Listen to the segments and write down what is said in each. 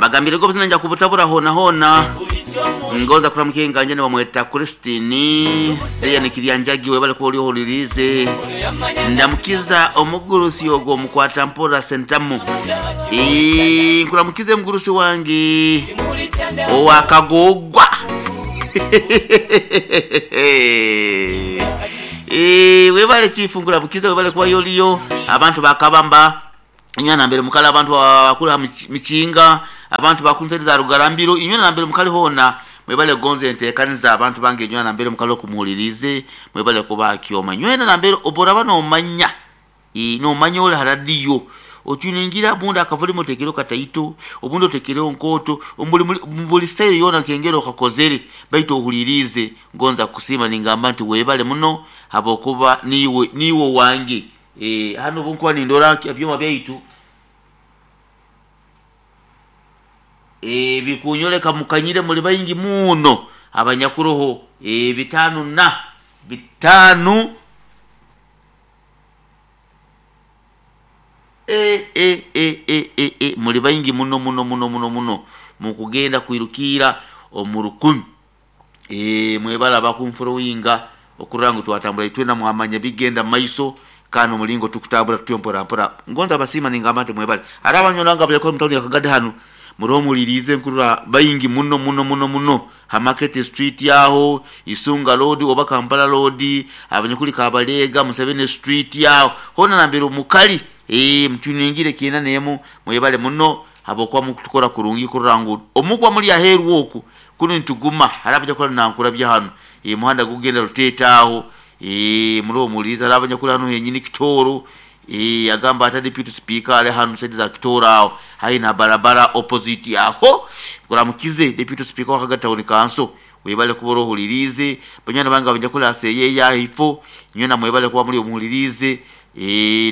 Mbagambire go obuzina nja kubutabura hoona hoona. Ngonza kuramuka enganja nibamweta Christine Lilian Kiryanjagi webale kuba ori ohuririize. Ndamukiza omugurusi ogwo omukwata mpora Sentamu. Eeh nkuramukize mugurusi wange owa Kagoogwa. Eeh webale chief nkuramukize webale kuba oriyo. Abantu ba Kabamba Inywe nambere mukali abantu abakuli ha Mikinga, abantu ba kunseri za Rugarambiro, inywe nambere mukali hoona, mwebale kugonza entekaniza. Abantu bange inywena nambere mukali okumuhuliriize, mwebale kuba ha kyoma. Inywena nambere obu oraba nomanya, nomanya ori ha radiyo, otuningira obundi akavolume otekereho kataito, obundi otekereho nkooto, omu buli sitayiro yoona nk'engeri okakozere, baitu ohuliriize. Ngonza kukusiima ningamba nti webale muno habwokuba niiwe niiwe owange. Hanu obu nkuba nindora ebyoma byaitu bikunyoleka mukanyire muli baingi muno abanyakuroho bitaanu na bitaanu muli baingi muno muno muno muno muno mukugenda kwirukiira omu rukumi. Mwebale abakunforowinga okurora ngu twatambura itwena mwamanya ebikugenda mumaiso kandi omuringo tukutambura tutyo mpora mpora. Ngonza basiima ningamba nti mwebale. Hariho abanywani bange abajakora omu tawuni ya Kagadi hanu muroho muhuririize nkurora baingi muno muno muno muno ha Market Street aho, Isunga Road oba Kampala Road, abanyakuri Kabalega, Museveni Street aho hoona nambere mukari mutuningire kiina n'emu mwebale muno habwokuba mukutukora kurungi kurora ngu omukuba muri aheeru oku Kunu nituguma hariho abanyakuba nankurabya hanu muhanda gukugenda Ruteete aho muroho muhuliriize hariho abanyakuri hanu henyini Kitooro agamba ata deputy speaker ari hanu side za Kitooro aho haihi na barabara opposite aho nkuramukize deputy speaker wa Kagadi town council webale kuba orohuliriize banywani bange abanyakuri aha seyeeya ahaifo nywena mwebale kuba muri omuhuliriize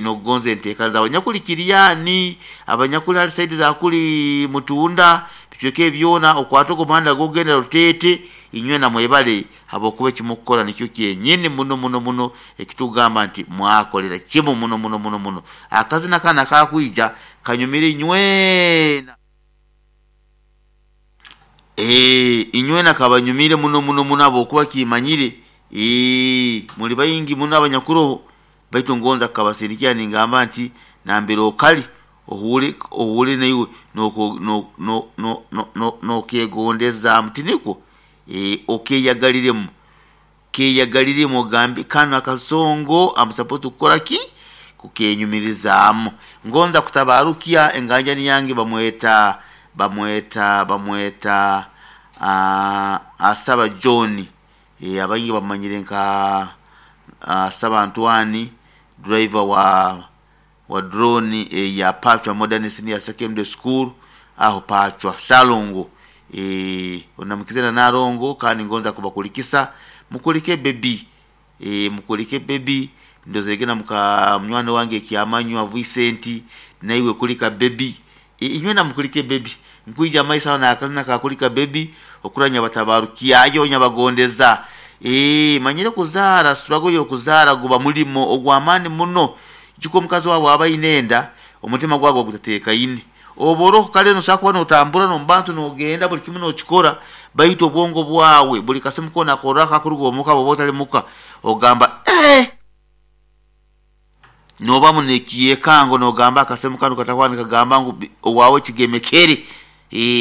nokugonza enteekaniza abanyakuri Kiriani abanyakuri hali side za kuri Mutunda Ebicweka ebi byona okwata ogu omuhanda gukugenda Ruteete, inywena mwebale habwokuba eki mukukora nikyo kyenyini muno muno muno eki tukugamba nti mwakolera kimu muno muno muno muno. Akazina kanu akakwija kanyumire inywena. Eeh inywena kabanyumire muno muno muno habwokuba kimanyire eeh muli baingi muno abanyakuroho baitu ngonza kukabasindikira ningamba nti nambere okali Ohuure ohuure naiwe nokeegondezaamu, tinikwo? Ee, okeeyagariremu. Keeyagariremu ogambe, Kanu akasongo am supposed kukora ki? Kukeenyumirizaamu. Ngonza kutabaarukya enganjani yange bamweta, bamweta, bamweta Asaba John. Ee, abaingi bamumanyire nka Asaba Antwani, driver wa wa drone eya Pachwa Modern Senior Secondary School aho Pachwa Shalongo eeh onamukize na Nalongo kandi ngonza kubakulikisa mukulike baby eeh mukulike baby ndozerege na muka munywani wange Kyamanywa Vincent naiwe kulika baby eeh inywena mukulike baby nkwija mumaiso aho nakazina ka kulika baby okurora nyabatabarukyayo nyabagondeza eeh manyire kuzaara struggle yokuzaara guba mulimo ogwamani muno Ijuka omukazi waawe waaba aine enda, omutima gwawe guba gutateekaine. Oba oroho kare noosobora kuba nootambura n'omu bantu noogenda buri kimwe nookikora, baitu obwongo bwawe buri kasimu koona aku orora kakuruga omuka bw'oba otari muka, ogamba eeh! Noobamu n'ekyekango noogamba akasimu kanu katahwaho nikagamba ngu owaawe kigemekere.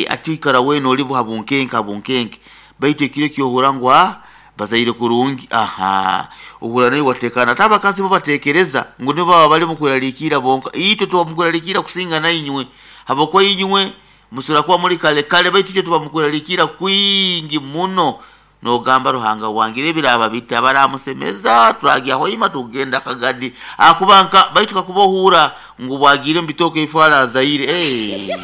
Hati oikara weena ori ha bunkenke ha bunkenke. Baitu ekiro eki ohurra ngu aa bazaire kurungi, ahaa, ohurra naiwe wateekaana. Ate abakazi bo bateekereza ngu nibo baba bari omu kwerarikirra bonka. Itwe tuba omu kwerarikirra kusinga nainywe habwokuba inywe musobora kuba muri kare kare baitu itwe tuba omu kwerarikirra kwingi muno. Nogamba Ruhanga wange ebiraaba bita baramusemeza turagya hoima tugenda Kagadi ahakuba nka baitu kakuba ohuura ngu bwagiire omu bitooke ebi azaire eeh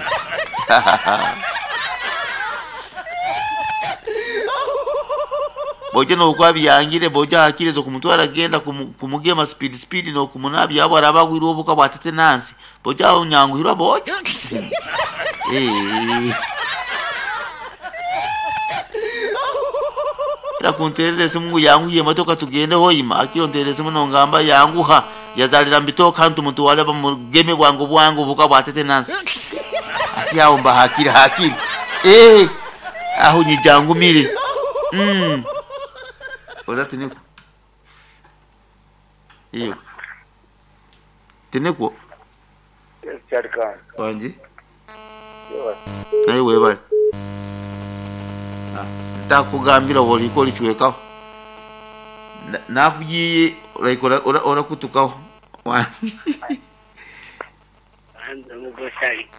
Bojo nokuba byangire bojo hakiri okumutwara genda kumugema speed speed nokumunabya aho araba agwirwe obuka bwa tetenansi bojo aho nyanguhirwa bojo eeh. Era kunterera esimu ngu yanguhya emotoka tugende Hoima, akira onterera esimu nongamba yanguha yazarira mubitooke hanu tumutware bamugeme bwangu bwangu obuhuka bwa tetenansi. Hati aho mba hakiri hakiri. Eh, aho nyijangumire. Oza tiniko. Iyo. Tiniko Kyarikani. wanje. Naye webale. Ah, ntakugambira woliko olichwekaho. Nakugiye like ora ora orakutukaho. Wanje. Mugosari.